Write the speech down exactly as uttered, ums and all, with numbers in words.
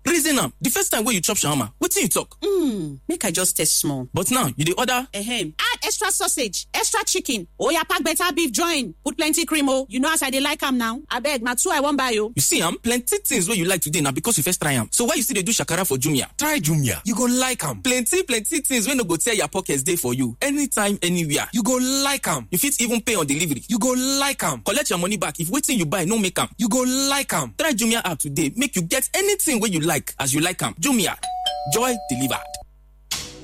Reason am, the first time wey you chop shawarma, wetin you talk? Hmm, make I just taste small. But now, you dey order? Ehem. Add extra sausage, extra chicken. Oya, pack better beef join. Put plenty cream o. You know as I dey like am now. Abeg, na two I wan buy o. You see am, plenty things wey you like today na because you first try am. So why you still dey do shakara for Jumia? Try Jumia, you go like am. Plenty, plenty things wey no go tear your pockets dey for you. Anytime, anywhere. You go like am. You fit even pay on delivery. You go like am. Collect your money back if wetin you buy no make am. You go like am. Try Jumia app today, make you get anything wey you like as you like am. Jumia, joy delivered.